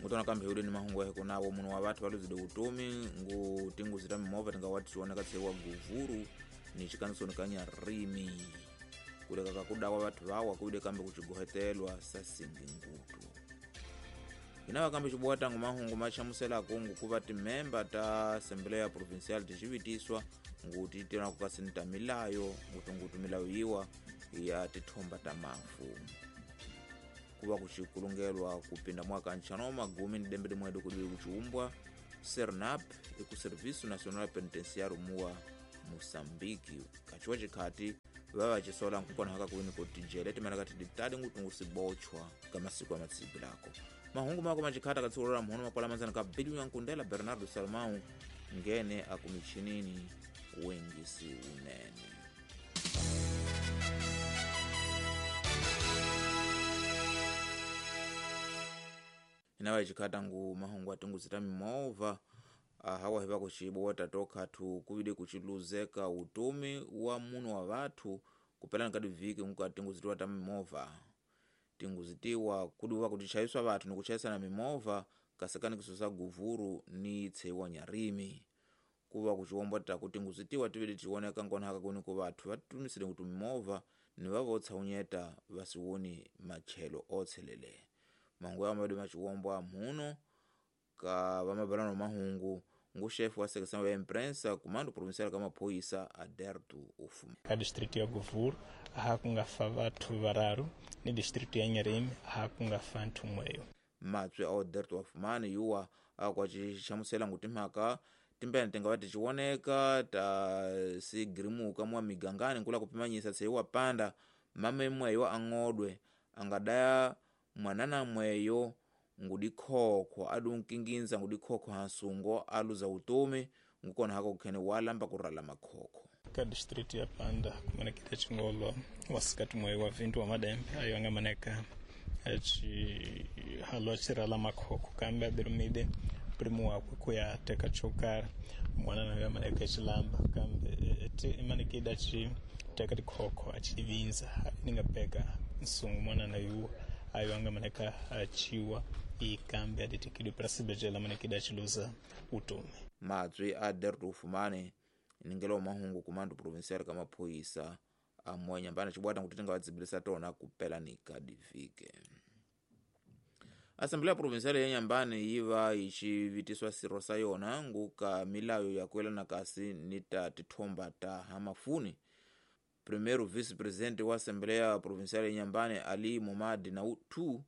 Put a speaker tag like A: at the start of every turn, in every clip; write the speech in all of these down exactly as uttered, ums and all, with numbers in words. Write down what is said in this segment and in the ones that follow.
A: Ngutona kambe hi ni mahungu ya kunawo munhu wa vathu valuzile utomi ngu tinguzi ta mimovha tinga watiwoneka tshewa Guvuru ni chikanisoni ka Nyarimi kuleka ka kudawa vathu vawa kuide kambe kuchigohetelwa sasingi ngutu. Inawa kambe chibuwa tangu mahungu machamusela kungu kuva timemba ta Assembleia Provincial tichivitiswa nguti tena kukasinta milayo ngutungutu milayo iwa ya tithomba ta mafu. Kuva kuchikulungelwa kupinda mwaka nchano magumi ni dembe dimwedu kudiwi kuchiumbwa SERNAP iku Serviço Nacional Penitenciário muwa Moçambique kachiwa chikhati vava chisola nkukona haka kuwini kuti jele timene kati ditadi ngutungu sibochwa kamasiku amatsibi lako. Mahungu mako machikhata katsikulora mhono makwala manzana ka Biliu Yankundela Bernardo Salmão ngene akumichinini wengisi unene. Inawa chikhata ngu mahungu atunguzita mimova hawa hiva kuchibu watatoka tu kuvide kuchiluzeka utumi wa munu wa vathu kupelana kadi viki ngu atunguzitiwa ta mimova. Tinguzitiwa kuduwa kutichaiswa vathu ni kuchaisana mimova kasekani kisosa Guvuru ni tsewa Nyarimi. Kuva kuchiwomba ta kutinguzitiwa tivide tiwoneka nkona haka kuni ku vathu vatumisile kuti mimova ni vavotsa unyeta vasiwoni machelo otselele. Mangu ya mabadi machiwombwa muno ka vamabalano mahungu ngu chefe wa secção ya imprensa comando provincial kama poisa Aderto Ufuma.
B: Ka distrito ya Guvuru hakungafa vathu vararu ni distrito ya Nyarimi hakungafa nthu mweyo.
A: Matswe a Aderto Ufumani yuwa akwa chichamusela nguti mhaka timbene tinga vati chiwoneka ta sigirimuka mwa migangani nkula kupimanyisa tseiwa panda mame mweyo ang'odwe angadaya mwanana mweyo ngudikhokho adunkinginza ngudikhokho hansungo aluza utomi ngukona hako kukhene walamba kurala makhokho.
B: Ka distrito ya Panda kumanekita chingolo wasikati mweyo wa vintu wa madembe ayo angamaneka achi halo achirala makhokho kambe adirumide primo wakwe kuya teka chokara mwanana ayo amaneka chilamba kambe imanekida chi teka dikhokho achivinza ningapeka nsungu mwanana yuwa ayo angamaneka achiwa ikambe aditikidwe para sibejela manekida achiluza utomi.
A: Matswi a Aderto Ufumane ningelo mahungu kumando provincial kama poisa amwenya mbana chibwata kuti tingawadzibilisa tona kupela ni kadivike. Assembleia Provincial ya Nyambane iva ichivitiswa siro sa yona nguka milayo ya kuelana kasi nita tithomba ta hamafuni. Primeiro vice-presidente wa Assembleia Provincial ya Nyambane Ali Momadi na utu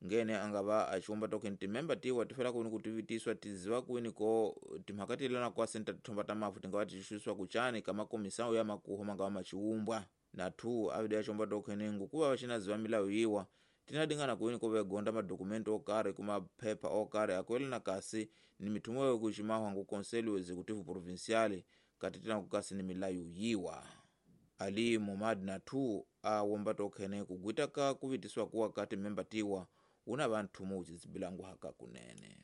A: ngene angava achiomba token timemba tiwa tifela kuni kutivitiswa tiziwa kuni ko timhakatilana kwa senta tithomba ta mafu tingawa tichiswa kuchani kama komisao ya makuho mangawa machiumbwa. Na tu avide achiomba token ngukuva vachinaziwa milayo iwa tinadingana kuni ko vegonda madokumento okare kuma pepa okare akwelana kasi ni mitumo yokuchimahwa ngu Conselho Executivo Provincial katitina kukasi ni milayo yiwa. Ali Momad na tu awomba token kugwita ka kuvitiswa kuwa kati memba tiwa una vanthu muchizibilangu haka kunene.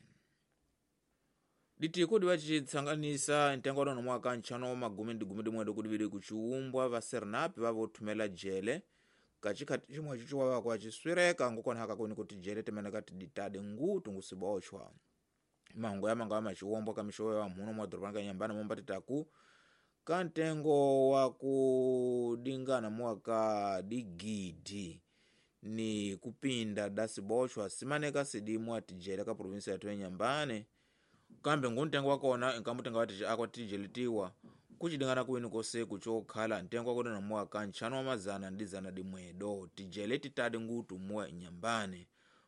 A: Ditiko diwachitsanganisa ntengo wa mwaka nchano magumi ndi gumi dimwedo kudiviri kuchiumbwa va SERNAP vavothumela jele kachikhati chimwe chichiwa vakwa chiswireka ngukona haka kuni kuti jele timene kati ditade ngutu ngusibochwa. Mahungu ya manga machiwombwa kamishowe wa mhuno mwa dorobani ka Nyambane momba titaku kantengo wa kudingana mwaka digidi ni kupinda dasibochwa simaneka sidimwa tijele ka provinsi ya Nyambane kambe nguntengo wakona nkamutenga wati akwa tijelitiwa kuchidingana kuwini kose kuchokhala ntengo wakona na mwaka nchano wa mazana ndi zana dimwedo tijele titadi ngutu mwa Nyambane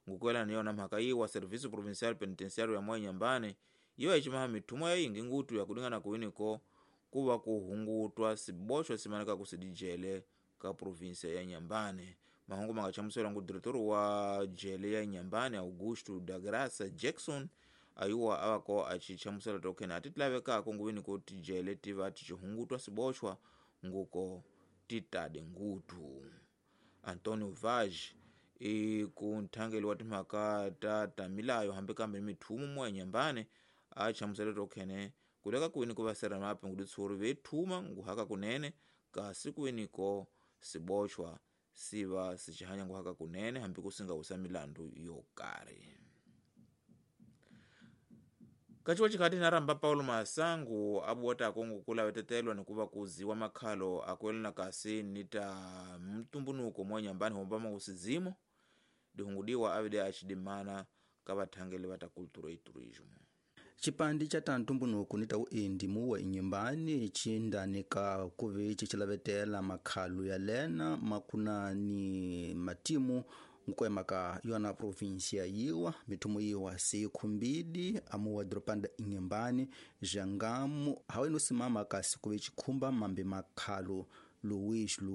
A: ngukwela niyona mhaka iwa Serviço Provincial Penitenciário ya mwa Nyambane iyo ichimaha mithumwa yingi ngutu ya kudingana kuwini ko kuva kuhungutwa sibochwa simaneka kusidijele ka provinsia ya Nyambane. Mahungu mangachamusela ngu diretor wa jele ya Nyambane Augusto da Graça Jackson ayuwa awako achichamusela token atitilave kako nguwini kuti jele tiva tichihungutwa sibochwa nguko titade ngutu. Antonio Vaz ikunthangeli wa timhaka ta tamilayo hambi kambe mithumu mwa Nyambane achamusela token kuleka kuwini ku vasera mapi nguditsuri vethuma nguhaka kunene kasi kuwiniko sibochwa siva sichihanya nguhaka kunene hambi kusinga usa milandu yokari. Kaciwa cikhati naramba Paulo Masangu abuwata akongo kulavetetelwa nikuva kuziwa makhalo akuelana kasi ni ta mtumbunuko mwa nyambani hombama usizimo dihungudiwa avide acidimana ka vathangeli va ta cultura e turismo.
C: Cipandi ca tantumbunuku ni ta uendi muwa inyumbani cindanika kuve cicilavetela makhalu ya lena makuna ni matimu nkuemaka yona provinsia yiwa mithumu yiwa seikhumbidi amuwa doropanda inyumbani jangamu hawe nosimama kasi kuve cikhumba mambe makhalu Luís Lu